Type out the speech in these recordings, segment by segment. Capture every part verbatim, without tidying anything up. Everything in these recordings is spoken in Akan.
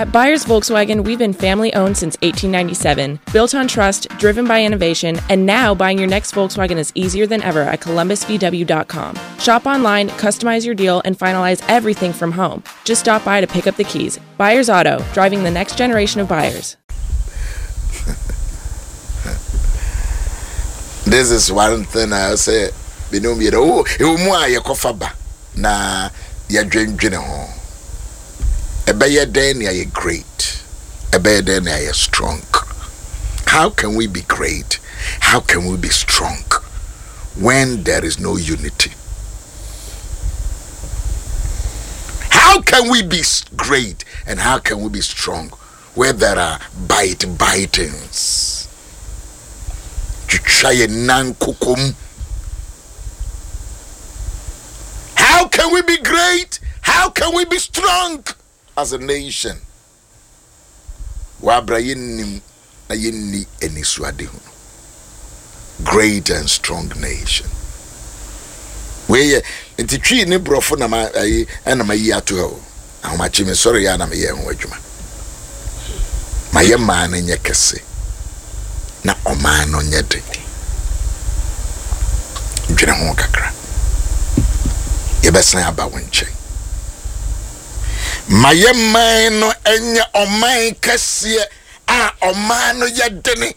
At Byers Volkswagen, we've been family owned since eighteen ninety-seven, built on trust, driven by innovation, and now buying your next Volkswagen is easier than ever at Columbus V W dot com. Shop online, customize your deal, and finalize everything from home. Just stop by to pick up the keys. Byers Auto, driving the next generation of buyers. This is one thing I say, binom yɛ dɛ o ewu mu a yɛkɔfa ba na yɛdwendwene ho. Ɛbɛyɛ dɛn ne ayɛ great? Ɛbɛyɛ dɛn ne ayɛ strong? How can we be great? How can we be strong when there is no unity? How can we be great and how can we be strong where there are bite bitings, twitwa yɛ nan kokom? How can we be great? How can we be strong as a nation? Wabra yɛnnim na yɛnni anisoadehu. Great and strong nation. Wei yɛ nti Twi ne borɔfo na ma ayi ɛna ma yi ato ha o. Ahomakye me sɔre yɛ na meyɛ ho adwuma. Ma yɛ maa no nyɛ kɛse na ɔman no nyɛ den. Dwene ho kakra. Yɛbɛsan aba wo nkyɛn. Ma yɛ man no nyɛ ɔman kɛseɛ a ɔman no yɛ dene.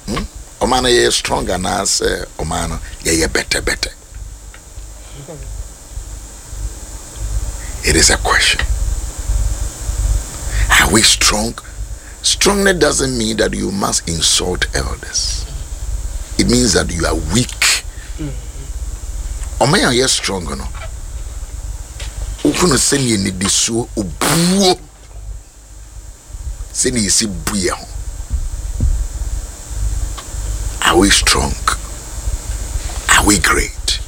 Hmm? Ɔman no yɛyɛ strong anaasɛ ɔman no yɛyɛ bɛtɛbɛtɛ? It is a question. Are we strong? Strongness doesn't mean that you must insult elders. It means that you are weak. Ɔman a ɔyɛ strong no, wohunu sɛnea nidisuo, obuo, sɛnea yɛsi bu yɛ ho. Are we strong? Are we great?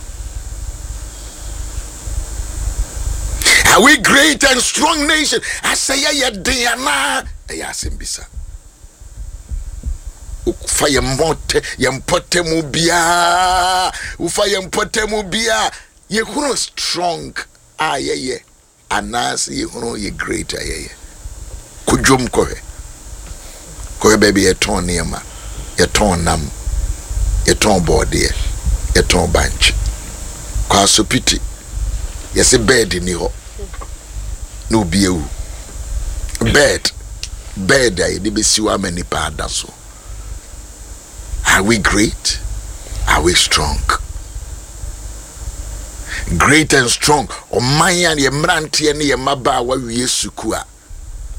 Are we great and strong nation? Asɛ yɛyɛ den anaa? Ɛyɛ asɛm bisa. Wofa yɛn mmɔtɛ yɛn mpɔtamu biara, wofa yɛn mpɔtamu biara, yɛhunu strong a yɛyɛ anaasɛ yɛhunu yɛ great a yɛyɛ? Kɔ dwom kɔhwɛ, kɔhwɛ baabi yɛtɔn nneɛma, yɛtɔn nam, yɛtɔn bɔɔdeɛ, yɛtɔn bankye. Kɔ Asopiti, yɛsɛ bed ni hɔ na obi awu. Bed, bed a yɛde bɛsi hɔ ama nipa ada so. Are we great? Are we strong? Great and strong ɔman a yɛ mmeranteɛ ne yɛ mmabaawa wie sukuu a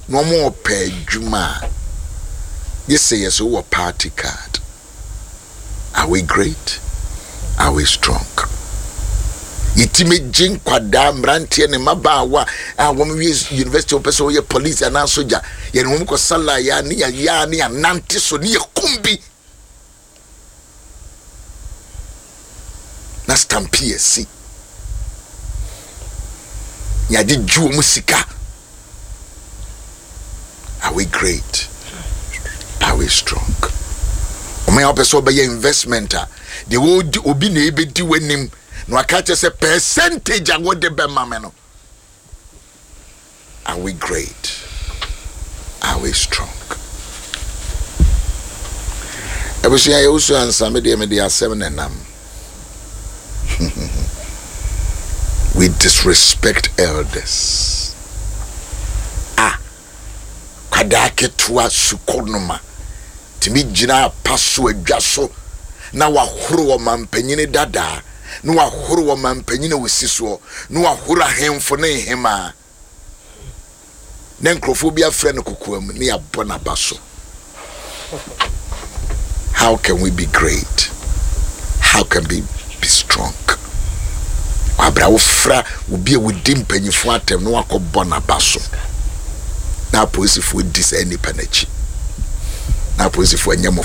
na wɔn ɔpɛ adwuma a gye sɛ yɛ so wɔ party card. Are we great? Are we strong? Yɛtumi gye nkwadaa, mmeranteɛ ne mmabaawa a wɔn wie university, wɔpɛ sɛ wɔyɛ police anaa sogya, yɛne wɔn kɔ sala ya ne yɛya ne yɛnante so ne yɛkum bi na stampede asi, yɛagyegye wɔn sika. Are we great? Are we strong? Ɔman a wɔpɛ sɛ wɔbɛyɛ investment a, deɛ wɔdi obi na ebedi w'anim na waka kyerɛ sɛ percentage a wɔde bɛma me no. Are we great? Are we strong? Abusua, yɛwosu ansa me deɛ mede asɛm na nam. We disrespect elders. Ah, kwadaa ketewa sukɔnoma tumi gyina apa so adwa so na wahoro ɔmampanyini dadaa, na wahoro ɔmampanyini a osi soɔ, na wahoro ahemfo ne nhemaa, na nkurɔfoɔ bi afrɛ no kokoam ne yɛabɔ n'aba so. How can we be great? How can we be strong? Wabra wofra obi a wodi mpanyinfoɔ atɛm na wakɔbɔ n'aba so na apolisifoɔ di saa nipa n'akyi na apolisifoɔ nyɛ mo.